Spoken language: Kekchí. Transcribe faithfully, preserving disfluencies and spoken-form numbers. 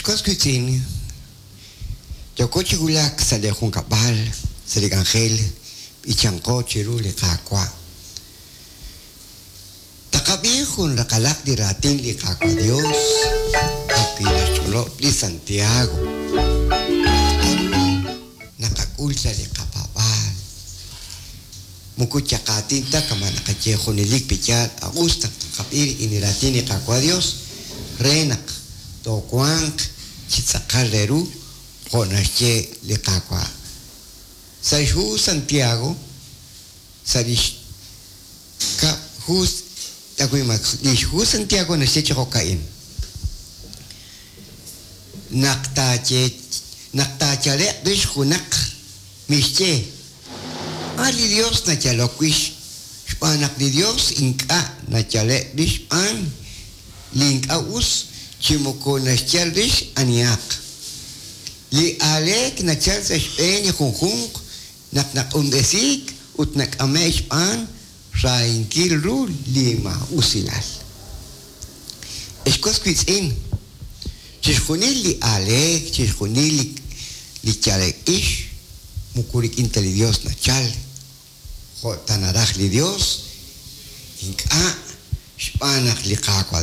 Ex was wiitz'in, yooko chi wulak sa' li junkab'al, sa' li k'anjel, b'ichanqo chiru li Qaawa'. Taqab'i jun raqalaq li raatin li Qaawa' Dios, jo'wi' naxch'olob' li Santiago. K'aru naqak'ul sa' li qapaab'aal? Moko chaqaatin ta kama' naqaye junelik piyaal a'us naq taqab'i rik'in li raatin li Qaawa' Dios re naq toowanq chi tz'aqal re ru jo' naxye li Qaawa'. Sa' xhu Santiago, sa' lix kab' hu li xhu Santiago naxye chi jo'ka'in. Naq taaye naq taayale'q rix junaq mixye a li Dios nayalok wix xb'aan naq li Dios ink'a' nayale' rix xb'aan li ink'a' us chi moko naxyal rix anihaq. Li aaleek nachal sa' xb'een li junjunq naq naq'unb'esiik ut nak'ame' xb'aan xrahinkil ru li maa'usilal. Ex was wiitz'in, chixjunil li aaleek, chixjunil li li yale'k-ix moko rik'in ta li Dios nachal, jo' ta naraj li Dios, ink'a' xb'aan naq li Qaawa'